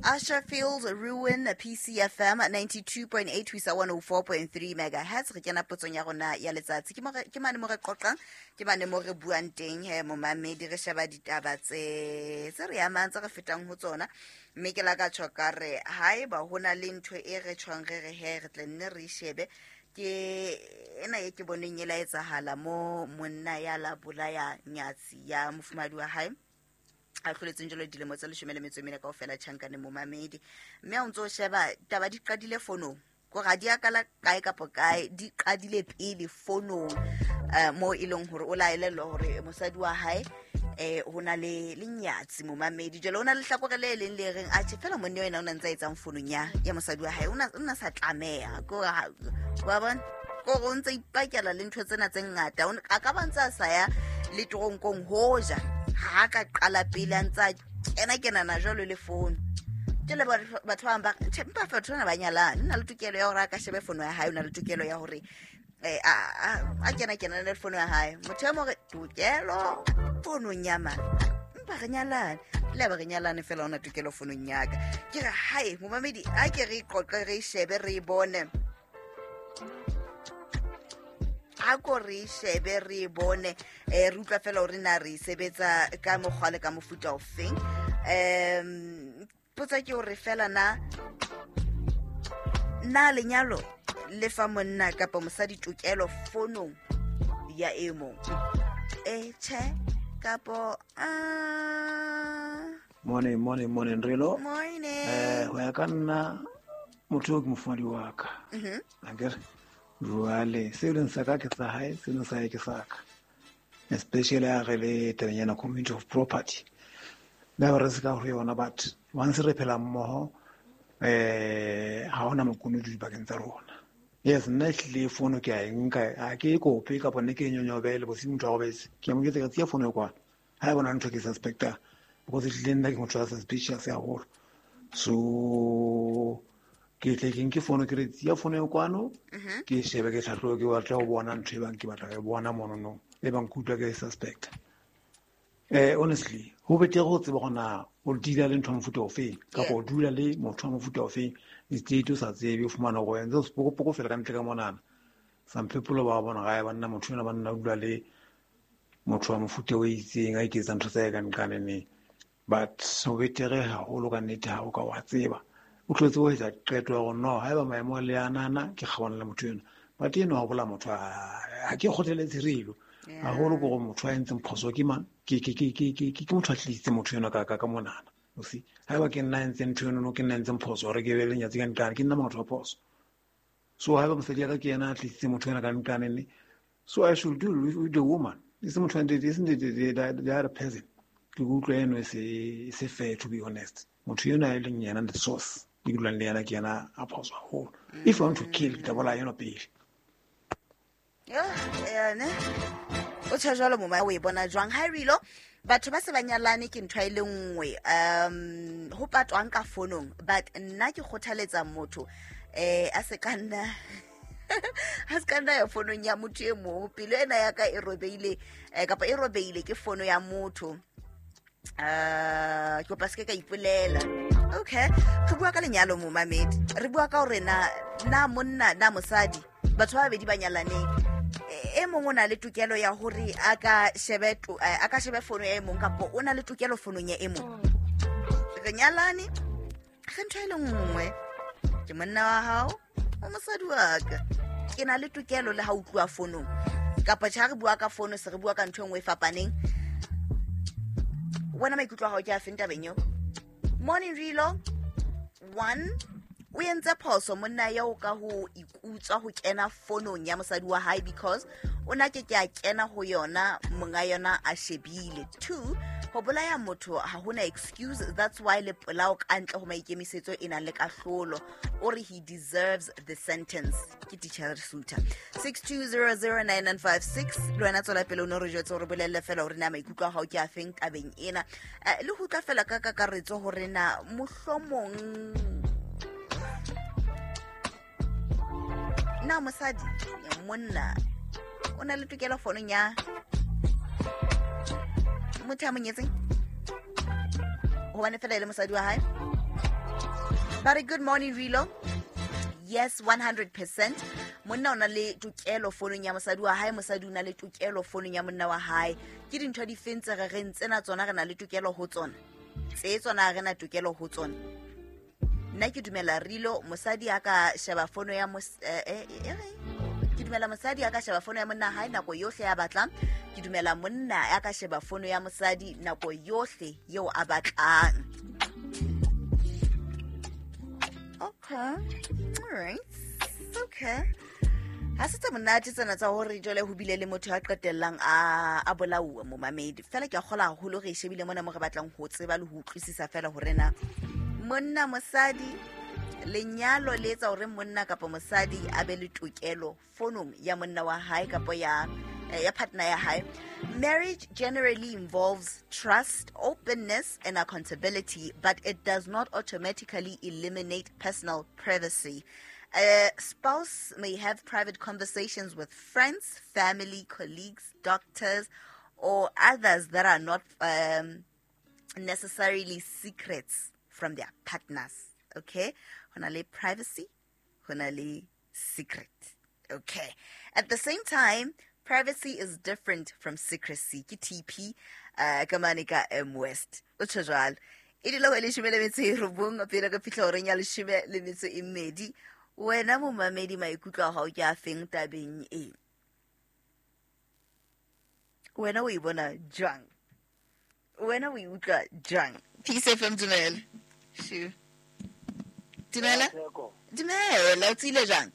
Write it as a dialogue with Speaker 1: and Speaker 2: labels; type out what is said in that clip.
Speaker 1: Usher Fields Ruin PCFM 92.8 ho isa 104.3 megahertz. Re kena potsong ya rona ya letsatsi. Ke mane mo re qoqang, ke mane mo re buang teng he momamedi, re sheba ditaba tse re amang, tse re fetang ho tsona. Mme ke la ka tjho ka re haeba ho na le ntho e re tjhong re re he re tle nne re e shebe, ke ena e ke boneng e la etsahala mo monna ya la bolaya nyatsi ya mofumahadi wa hae a hloletseng jalo dilemo tse 14 kaofela tjhankane momamedi. Mme ha o ntso sheba taba di qadile fonong, kore ha di a kala kae kapa kae, di qadile pele fonong, mo e leng hore o la elellwa hore mosadi wa hae ho na le lenyatsi momamedi. Jwale ho na le hlakore le leng le reng atjhe fela monna ena o na ntse a etsang fonong ya mosadi wa hae, o na sa tlameha, kore ha, wa bona, kore o ntse ipakela le ntho tsena tse ngata. A ka ba ntse a sa ya le toronkong hoja ha ka qala pele a ntse a kena-kenana jwalo le fono. Jwale batho ba bang ba re, tjhe, empa batho bana ba nyalane, o na le tokelo ya hore a ka shebe fono ya hae, o na le tokelo ya hore a kena-kenana le fono ya hae. Motho e mong re, tokelo fonong ya mang? Empa re nyalane. Le ba re nyalane fela, o na tokelo fonong ya ka. Ke re, hae, momamedi, a ke re qoqe, re shebe, re bone. A ko re shebe, re bone. Re utlwa fela hore na re sebetsa ka mokgwa le ka mofuta ofeng. Potsa ke hore fela na lenyalo le fa monna kapa mosadi tokelo fonong ya e mong? Tjhe, kapo,
Speaker 2: Morning, morning, morning, Relo.
Speaker 1: Morning.
Speaker 2: Ho ya ka nna, motho eo ke mofumahadi wa ka. Akere? Jwale, seo leng sa ka ke sa hae, seo leng sa hae ke sa ka. Especially ha re le tabeng yana community of property. Le ha re se ka ho yona, but once re phela mmoho, ha hona makunutu dipakeng tsa rona. Yes, nna ehlile fono ke a e nka, ha ke e kope kapa nne ke e nyonyobele bosiu motho a robetse. Ke a mo jwetsa ka tsia fono e kwana. Ha e bona ntho ke suspecta, because ehlile nna ke motho a suspicious haholo. So ke tle ke nke fono, ke re tsia fono e kwano, ke shebe, ke hlahlobe, ke batla ho bona ntho e bang ke batla ho e bona monono, e bang ke utlwa ke suspect. Honestly, ho betere ho tseba hore na o deala le ntho ya mofuta ofeng, kapa o dula le motho wa mofuta ofeng, instead o sa tsebe, o fumana hore o entse sepokopoko fela ka ntle ka monana. Some people ba bona gae banna motho enwa banna o dula le motho wa mofuta o itseng, a iketsa ntho tsa hae ka nqane neng. But ho betere haholo ka nnete ha o ka wa tseba. O tlo tseba ho etsa qeto ya hore no, haeba maemo a le anana, ke kgaohana le motho enwa. But enwa wa bolaya motho, ha ke kgothaletse relo. Haholo ke hore motho a entseng phoso ke mang? Ke motho a tlisitse motho enwa ka monana. You see? Haeba ke nna a entseng ntho eno, ke nna a entseng phoso hore ke be le nyatsi ka nqane, ke nna motho wa phoso. So haeba mosadi ya ka ke yena a tlisitse motho enwa ka nqane ne, so I should deal with the woman. E se motho a ntate, e se the other person. Ke utlwa eno e se fair, to be honest. Motho enwa e leng yena the source, ke dulang le yena, ke yena a phoso haholo. If you want to kill, ke tla bolaya enwa pele.
Speaker 1: Yone. O tjho jwalo moma, o e bona jwang? Ha Rilo, batho ba se ba nyalane ke ntho e le nngwe, ho patwang ka fonong, but nna ke kgothaletsa motho, a se ka nna ha se ka nna ya fonong ya motho e mong. Pelo ena ya ka e robeile, kapa e robeile ke fono ya motho. Ke kopa se ke ka ipolela. Okay, re bua ka lenyalo momamedi, re bua ka hore na monna na mosadi, batho ba babedi ba nyalaneng, e mong o na le tokelo ya hore a ka shebe to-, a ka shebe fono ya e mong, kapa o na le tokelo fonong ya e mong. Re nyalane, re ntho e le nngwe, ke monna wa hao, o mosadi wa ka, ke na le tokelo le ha o tluwa fonong, kapa tjhe ha re bua ka fono se re bua ka ntho e nngwe e fapaneng. Wena maikutlo a hao ke a feng tabeng eo? Morning Rilo, 1, o entse phoso monna eo ka ho ikutswa ho kena fonong ya mosadi wa hae, because o na ke ke a kena ho yona monga yona a shebile. 2, ho bolaya motho ha hona excuse, that's why le polao ka ntle ho maikemisetso e nang le kahlolo. O re he deserves the sentence. Ke teacher Suta. 62009956, le wena tswela pele o no re jwetse hore bolelle fela hore na maikutlo a hao ke a feng tabeng ena. Le ho utlwa fela ka kakaretso hore na mohlomong na mosadi monna o na le tokelo fonong ya motho a mo nyetseng hobane fela e le mosadi wa hae. Ba re, "Good morning, Rilo. Yes, 100%. Monna o na le tokelo fonong ya mosadi wa hae, mosadi o na le tokelo fonong ya monna wa hae. Ke dintho di feng tse re reng tsena tsona re na le tokelo ho tsona, tse tsona ha re na tokelo ho tsona? Nna ke dumela Rilo, mosadi a ka sheba fono ya ke dumela mosadi a ka sheba fono ya monna hae nako yohle ya batlang. Ke dumela monna a ka sheba fono ya mosadi nako yohle yeo a batlang." Okay, alright, okay. Ha se tse monate tsena tsa hore jwale ho bile le motho a qetellang a bolauwa, momamedi. Fela ke a kgola haholo re e shebile mona mo re batlang ho tseba le ho utlwisisa fela hore na monna, mosadi, lenyalo le etsa hore monna kapa mosadi a be le tokelo fonong ya monna wa hae kapa ya partner ya hae. Marriage generally involves trust, openness and accountability, but it does not automatically eliminate personal privacy. A spouse may have private conversations with friends, family, colleagues, doctors or others that are not necessarily secrets from their partners. Okay, ho na le privacy, ho na le secret. Okay, at the same time, privacy is different from secrecy. Ke TP ka mane ka M West, o tjho jwalo. E dula ho 19 pele re fihla horeng ya 12. Wena momamedi, maikutlo a hao ke a feng tabeng e? Wena o e bona jwang? Wena o e utlwa jwang? Peace FM, dumela. Shu, dumela. Dumela, o tsile jwang?